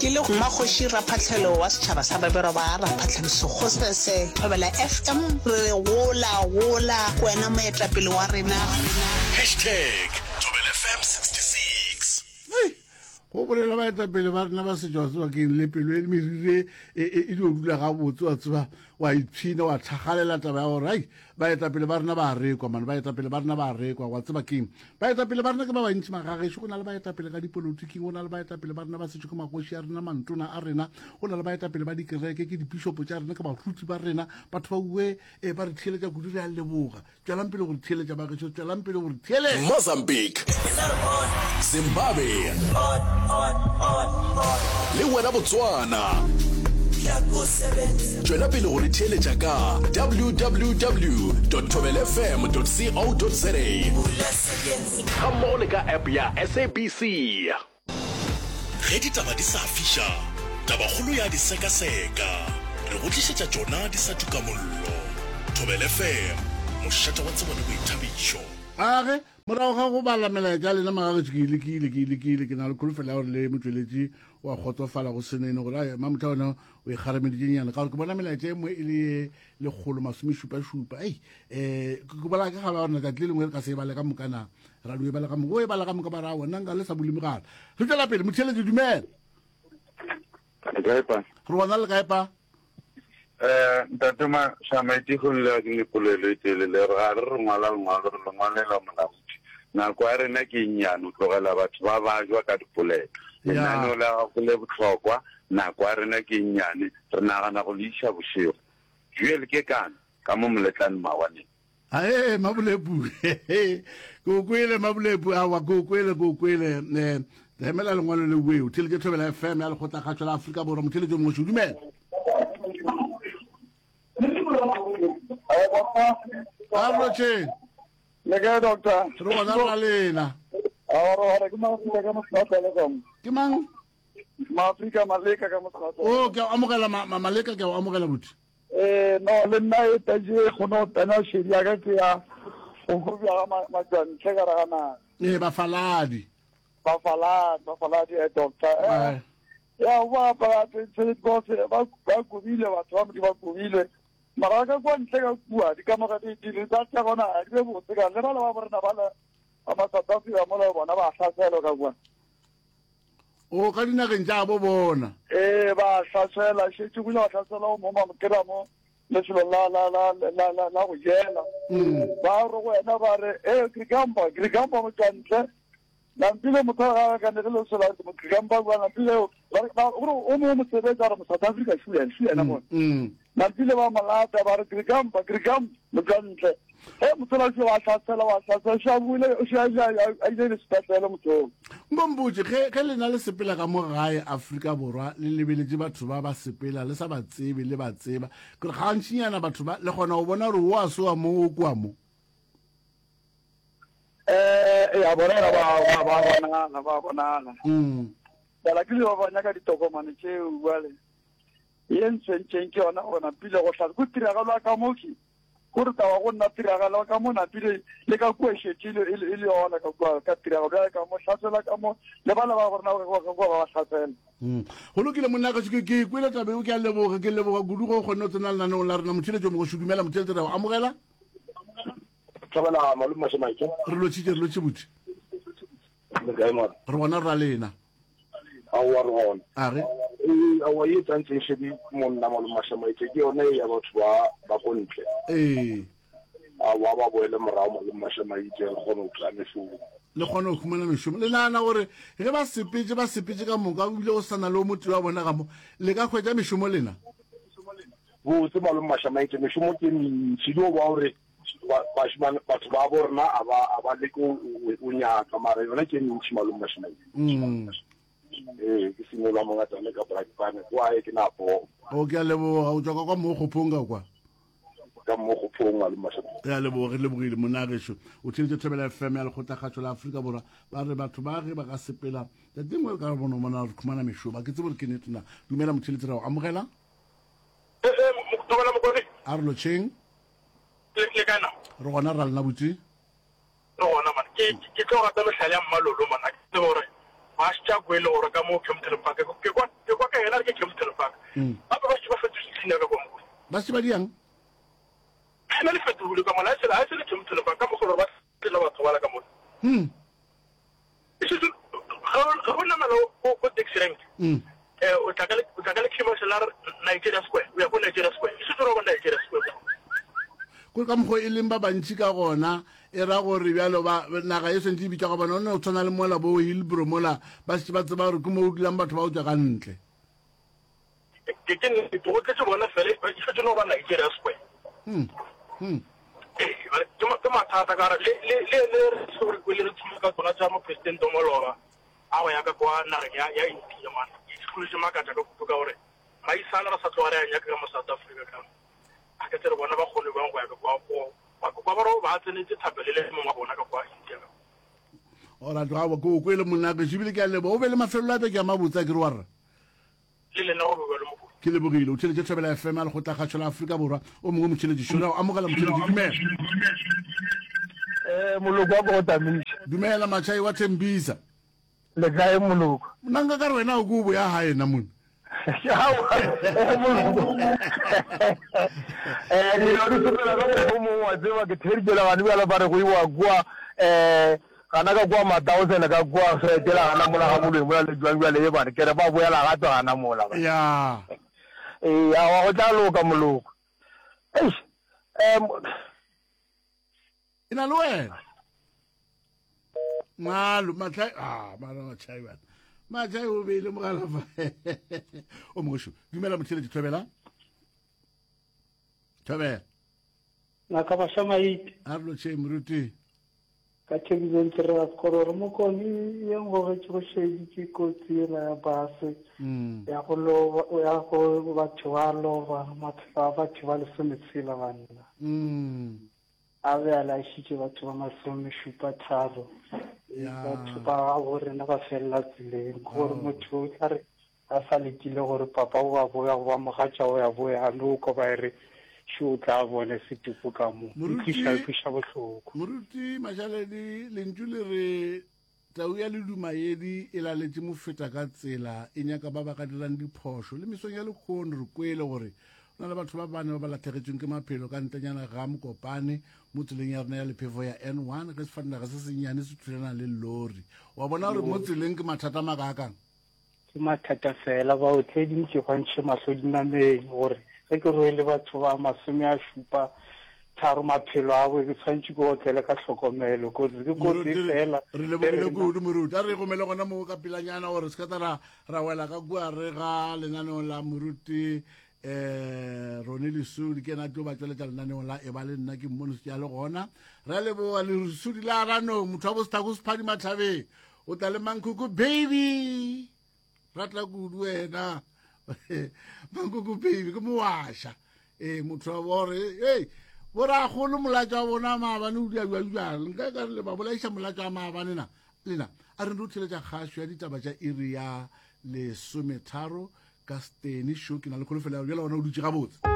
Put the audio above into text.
Ke le Mmakgoši Raphahlelo wa setšhaba sa Babelwa ba Raphahlelo Sekgosese, Thobela FM, re re gola, gola, ke wena moetapele wa rena. Hashtag Thobela FM 66. Hei, go bolela baetapele ba rena ba setšo wa tseba keng le pelo e merire e, e, e dio dula gabotse wa tseba wa ipshina wa thakgalela taba ya gore ai baetapele ba rena ba a rekwa mane baetapele ba rena ba a rekwa wa tseba keng baetapele ba rena ke ba bantši magagešo go na le baetapele ka dipolotiking go na le baetapele ba rena ba setšo ke magoši a rena mantona a rena go na le baetapele ba dikereke ke dipišopo tša rena ke baruti ba rena batho ba uwe e ba re theeletša kudu re a leboga Tšwelang pele go re theeletša bagešo, tšwelang pele go re theeletša. Mozambique, Zimbabwe le wena Botswana. Tšwela pele go re theeletša ka www.thobelfm.co.za gammogo le ka app ya SABC. Ge ditaba di sa fiša, tabakgolo ya di sekaseka. Re go tlišetša tšona di sa tuka mollo. Thobela FM, mošate wa tsebo le boithabišo. A ge, morago ga go bala melaetša ya lena magagetšo, ke e lekile, ke e lekile, ke na le kholofelo ya gore le motšweletši wa kgotsofala go senene gore ai mamotha wena o e kgarameditše nyana ka gore ke bona melaetša e nngwe e le ye lekgolo masomešupašupa ei um ke bola ke gaba gore letšatši le lengwe re ka se e bale ka moka na ra dio e bala ka moka o e bala ka moka ba ra wena nka le sa bule mogala re tšwela pele motheeletši dumela Le kae pa? Re gona le kae pa? Eh, ntate Mashamaite go le ke le polelo e telele re ga re re ngwala lengwalo re le ngwalela molaodi nako ya rena ke e nnyane o tlogela batho ba bajwa ka dipolelo lenaneo la gago le bohlokwa nako ya rena ke e nnyane re nagana go le iša bošego Joel ke kana ka mo moletlane mawaneng Ae, Mabolepu, ke o kwele Mabolepu, aowa ke o kwele, ke o kwele. Eh, emela lengwalo le weo, theletše Thobela FM ya Lekgotlakgašo la Afrika Borwa, motheletši o mongwe šo, dumela. A re lotšheng. Le kae doctor? Re gona re ra lena. Ke mang? Maafrika Maleka ka Motlhwatlwa. O ke a amogela Maleka ke a amogela buti. Eh no le nna e taje e kgone go tsena šedi ya ka ke ya go hobja ga matšwantle ka raga naga. Ee bafaladi. Bafaladi, bafaladi eh doctor. Eh ya ba ba tse ba ba kobile batho ba Modimo ba kobile. Mara ka kwa ntle ka kua dikamoga di di tsa tsa gona di be botse ka le ba le ba borena ba le ba ma South Africa mola bona ba hlaselwa ka kwa. O ka dinageng tša bo bona. Ee, ba hlasela, šetše go ile ba hlasela o mongwe ba mo kry-a mo lefelong la, la, la, la, la, la go jela. Ba re go wena ba re, ee, Krikampa, Krikampa motšwantle. Nampile motho ga a kanege le sola Krikampa kua, nampile, ba re, ba, gore o mongwe mosebetsi a re mo South Africa, shu yena, shu yena mona. Nampile ba mo lata, ba re, Krikampa, Krikampa, motšwantle. Ge motho a šio a hlasela, wa hlasela, šio a boile, šio a ile, a ile le sepetlele motho oo. Nko mpotše, ge, ge lena le sepela ka mo gae Afrika Borwa, le lebeletše batho ba ba sepela, le sa ba tsebe, le ba tseba, ke re gantšinyana batho ba, le kgona go bona gore wo a se wa mo, o ke wa mo. Eh, ya bona ba, ba, ba bonala, ba bonala. Mm. Bala ke le ba ba nyaka ditokomane tšeo, bjale. Ye ntshwentšeng ke yona gore napile go hlatse, ko tiragalo ya ka mo ke. Gore taba go nna tiragalo ka mo napile le ka kua e šetše e le, e le, e le yona ka kua ka tiragalo bjale ka mo hlasela ka mo le bana ba rena ka kua ba ba hlasela. Mm. Go lokile monna gašo ke ke kwele taba eo ke a leboga ke leboga kudu go kgonne go tsena lenaneong la rena motheletšo mogoši dumela motheletši re a go amogela Thobela malome Mašemaitše. Re lotšhitše re lotšhe buti. Le kae mara? Re gona re ra lena. Aowa re gona. A re. Ee, aowa ye tsantse e šedi monna malome Mašemaitše ke yone ya batho ba ba ko ntle. Ee. Aowa ba boele morago malome Mašemaitše re kgone go kry-a mešomo. Le kgone go humana mešomo. Le nagana gore ge ba sepetše ba sepetše ka moka ebile go sa na le o motee wa bona ka mo le ka hwetša mešomo lena? Botse malome Mašamaitše mešomo ke mentši dio ba gore bašemane batho ba bo rena a ba a ba leke o nyaka mara yona ke mentši malome Mašamaitše. Mm. Ee ke simolwa mongatane ka Brakpan kwa e ke na po. O ke a leboga o tswa ka kwa mo gophong ka kwa. Ka mo gophong malome Mašamaitše. Re a leboga re lebogile monna gešo o theletše Thobela FM ya Lekgotlakgašo la Afrika Borwa ba re batho ba ge ba ka sepela tšatši lengwe re ka bona mona re khumana mešomo a ke tsebe gore ke nnete na dumela motheletši ra o amogela. Eh, eh, Thobela Mokone. A re lotšheng. Le, le kae na? Re gona ra lena botse. Re gona man. Ke ke tlo rata mehlala ya Mmalolo man. A ke tsebe gore ba šetša kwele gore ka mo Kempton Park ke kwa ke kwa. Yena a re ke Kempton Park. Gape ba šetše ba fetotše leina ka kwa Mokone. Ba šetše ba diang? Leina le fetogile ka mola, ga e sa le Kempton Park, ka mokgwa gore ba tlela batho bala ka mola. E šetše, ge o namela ko taxi rank, o tla ka o tla ka le commercial la re Nigeria Square, o ya ko Nigeria Square, e šetše o ra ba Nigeria Square kwa. Kore ka mokgwa e leng ba bantši ka gona, e ra gore bjalo ba naga e swantše e bitša ga bona, o no tshwana le mola bo Hillbrow mola, ba šetše ba tseba gore ke mo o dulang batho ba go tšwa ka ntle. Ke ke nnete, go tletše bona fela, e šetše no ba Nigeria Square. Hmm. Hmm. Ee, ke ke mathata ka gore le le le le re se re kwele re thuma ka tsona tša mopresidente wa maloba a go ya ka kwa nageng ya ya India man. Ke hlole se makatša ka kudu ka gore maisana re sa tloga re a nyaka ka mo South Africa ka a ke tsere bona ba kgone bjang go ya ka kwa go kwa kwa ba re ba tsenetse thapelo le mongwe wa bona ka kwa India ka. Ora tloga ke o kwele monna ke ebile ke a leboga o be le mafelelo a beke a mabotse a ke re wa rra. Le lena go be bjalo Mokone. Ke lebogile. O theletše Thobela FM ya Lekgotlakgašo la Afrika Borwa. O mongwe motheletši šo. Re a o amogela motheletši. Dumela. Eh, moloko wa ko go tamiša. Dumela Machai wa Thembisa. Le kae moloko? Nna nka ka re wena o ko o boya gae na mone. Aowa, eh, moloko. Eh, dilo di sepela ka mokgwa o mongwe wa tseba ke theeditše le gane bjalo ba re go iwa kua eh Gana ka kua Mataosene ka kua ge etela gana mola ga Moloi mola le jwang bjale ye bane ke re ba boela gape gana mola ba. Ya. Ee aowa go tla loka moloko. Eish um. E na le wena. Malo matlhai ah mara matlhai bana. Matlhai o beile mogala fa. O mongwe šo. Dumela motheletši Thobela. Thobela. Ngaka Bašamaite. A re lotšheng moruti. Ka Thekisong Tleregasekoro re Mokone ye ngogetše go šedi ke kotsi yela ya base mm. ya go loba ya go batho ba loba maphelo a batho ba lesometshela banna mm. a be a laišitše batho ba masomešupa tharo batho ba gabo rena ba felela tseleng gore oh. motho o tla re A sa letile gore papa o a boya goba mogatša o ya boya, a no kwa ba re, Šo o tla bone setopo ka mo. E tliša, e kweša bohloko. Moruti Mašaledi, lentšu le re tau ya ledumayedi e laletše mofeta ka tsela, e nyaka ba ba ka dirang diphošo. Le mesong ya lekgono re kwele gore go na le batho ba bane ba ba lahlegetšweng ke maphelo ka ntlenyana ga Mokopane mo tseleng ya rena ya lephefo ya N1 ge sefatanaga se sennyane se thulana le lori. Wa bona gore mo tseleng ke mathata a makaakang? Ke mathata fela, baotledi nke ba ntšhe mahlo dinameng gore ge ke rwele batho ba 75 maphelo a bo ke tshwanetše ke otlele ka hlokomelo. Kotsi ke kotsi fela. Re lebogile kudu moruti. A re gomele gona moo ka pelanyana gore se ka tla ra ra wela ka kua re ga lenaneong la moruti um Rone Lesudi ke ena tlo ba tšweletša lenaneong la e ba le nna ke mmone se le gona. Re a leboga Lesudi la Ranong motho wa bosethako sephadima thabeng. O tla le mankoko baby ratla kudu wena mankoko baby ke mowaša ee motho wa bore ei boragolo molatša wa bona maabane o dia jwang nka ka re le ba bolaiša molatša wa maabane na lena a re ndo theletša kgašo ya ditaba tša iri ya lesometharo ka stene šo ke na le kholofelo ya bjala gona o dutše gabotse.